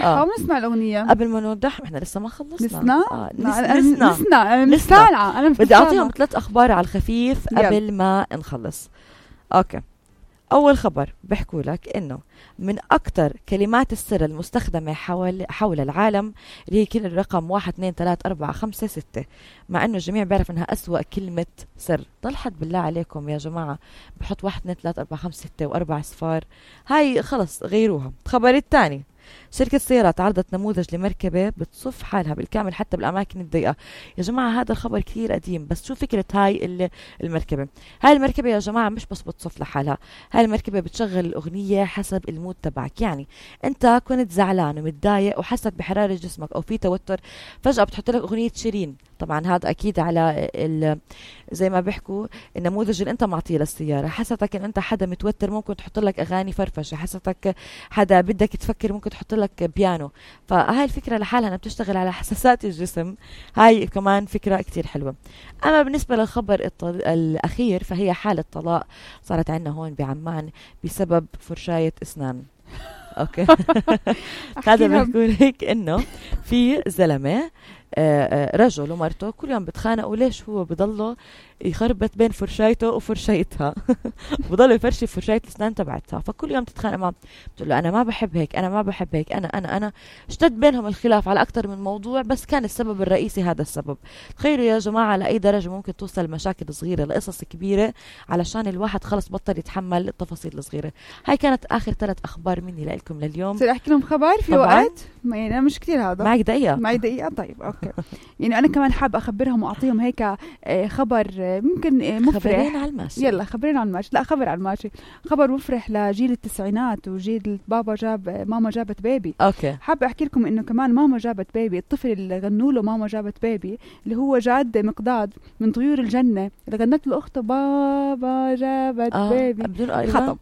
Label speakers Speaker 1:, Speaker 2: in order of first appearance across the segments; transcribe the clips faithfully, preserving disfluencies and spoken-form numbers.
Speaker 1: نوضحها آه. ونسمع الأغنية.
Speaker 2: قبل ما نوضحها احنا لسه ما خلصنا.
Speaker 1: نسنا
Speaker 2: آه.
Speaker 1: نسنا نسنا نسنا أنا
Speaker 2: بدي أعطيهم ثلاث أخبار على الخفيف قبل ما نخلص. أوكي. أول خبر بحكوا لك إنه من أكتر كلمات السر المستخدمة حول حول العالم اللي هي كل الرقم واحد اثنين ثلاثة أربعة خمسة ستة، مع إنه الجميع بيعرف إنها أسوأ كلمة سر. ضل حد بالله عليكم يا جماعة بحط واحد اثنين ثلاثة أربعة خمسة ستة وأربع صفار، هاي خلص غيروها. الخبر الثاني، شركة سيارات عرضت نموذج لمركبة بتصف حالها بالكامل حتى بالأماكن الضيقة. يا جماعة هذا الخبر كثير قديم، بس شو فكرة هاي المركبة؟ هاي المركبة يا جماعة مش بس بتصف لحالها، هاي المركبة بتشغل الأغنية حسب المود تبعك. يعني أنت كنت زعلان ومتضايق وحست بحرارة جسمك أو في توتر، فجأة بتحط لك أغنية شيرين. طبعا هذا أكيد على زي ما بيحكوا النموذج اللي أنت معطيه للسيارة. حستك إن أنت حدا متوتر ممكن تحط لك أغاني فرفشة، حستك حدا بدك تفكر ممكن تحط لك بيانو. فهاي الفكرة لحالها أنا بتشتغل على حساسات الجسم، هاي كمان فكرة كتير حلوة. أما بالنسبة للخبر الأخير فهي حالة طلاق صارت عندنا هون بعمان بسبب فرشاية أسنان. أوكي. هذا بيقول هيك إنه في زلمة رجل ومرته كل يوم بتخانقوا ليش هو بضله يخربط بين فرشايته وفرشايتها بضله يفرشي فرشاية الأسنان تبعتها. فكل يوم تتخانق معه، بتقول له أنا ما بحب هيك، أنا ما بحب هيك، أنا أنا أنا اشتد بينهم الخلاف على أكتر من موضوع، بس كان السبب الرئيسي هذا السبب. تخيلوا يا جماعة لأي درجة ممكن توصل مشاكل صغيرة لقصص كبيرة علشان الواحد خلص بطل يتحمل التفاصيل الصغيرة. هاي كانت آخر ثلاث أخبار مني لكم لليوم.
Speaker 1: صير أحكي لهم خبر في وقت؟ ما يعني مش كتير هذا.
Speaker 2: معك دقيقة؟
Speaker 1: معي دقيقة. طيب أوكي. يعني أنا كمان حاب أخبرهم وأعطيهم هيك خبر ممكن مفرح.
Speaker 2: خبرين على الماشي.
Speaker 1: يلا خبرين على الماشي. لا خبر على الماشي، خبر مفرح لجيل التسعينات وجيل بابا جاب ماما جابت بيبي.
Speaker 2: أوكي.
Speaker 1: حاب أحكي لكم إنه كمان ماما جابت بيبي، الطفل اللي غنوا له ماما جابت بيبي اللي هو جاد مقداد من طيور الجنة اللي غنت له أخته بابا جابت آه. بيبي خطب.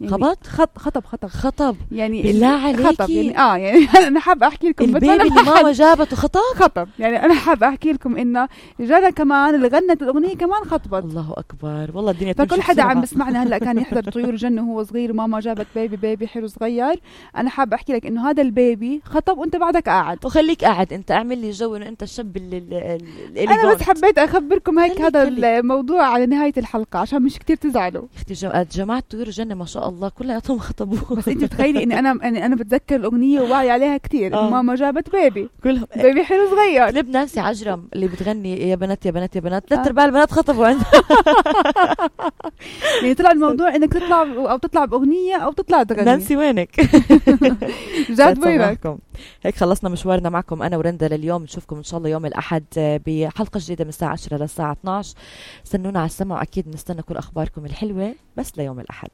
Speaker 1: يعني
Speaker 2: خبط
Speaker 1: خط خطب خطب
Speaker 2: خطب
Speaker 1: يعني
Speaker 2: بالله عليكي.
Speaker 1: خطب يعني اه يعني انا حابه احكي لكم
Speaker 2: البيبي اللي ماما جابته خطب
Speaker 1: خطب يعني انا حابه احكي لكم انه جانا كمان اللي غنت الاغنيه كمان خطبت.
Speaker 2: الله اكبر والله الدنيا.
Speaker 1: فكل حدا عم بسمعنا هلا كان يحضر طيور الجنه وهو صغير وماما جابت بيبي بيبي حلو صغير. انا حابه احكي لك انه هذا البيبي خطب وانت بعدك قاعد،
Speaker 2: وخليك قاعد انت اعمل لي جو انه انت الشاب اللي, اللي
Speaker 1: انا بس حبيت اخبركم هيك هذا الموضوع على نهايه الحلقه عشان مش كتير تزعلوا.
Speaker 2: اختي جماعه طيور الجنه ما شاء الله كلها خطبوه.
Speaker 1: بس انت تخيلي اني انا اني انا بتذكر الاغنيه وواعي عليها كثير. آه. ماما جابت بيبي
Speaker 2: كلهم
Speaker 1: بيبي حلو صغير.
Speaker 2: كليب نانسي عجرم اللي بتغني يا بنات يا بنات يا بنات ثلاث ارباع البنات خطبوا عندها.
Speaker 1: يعني طلع الموضوع انك تطلع او تطلع باغنيه او تطلع تغني.
Speaker 2: نانسي وينك؟
Speaker 1: جاد وينك؟
Speaker 2: هيك خلصنا مشوارنا معكم انا ورندا لليوم. نشوفكم ان شاء الله يوم الاحد بحلقه جديده من الساعه عشرة للساعه اثنعش. استنونا على السمع، واكيد نستنى كل اخباركم الحلوه بس ليوم الاحد.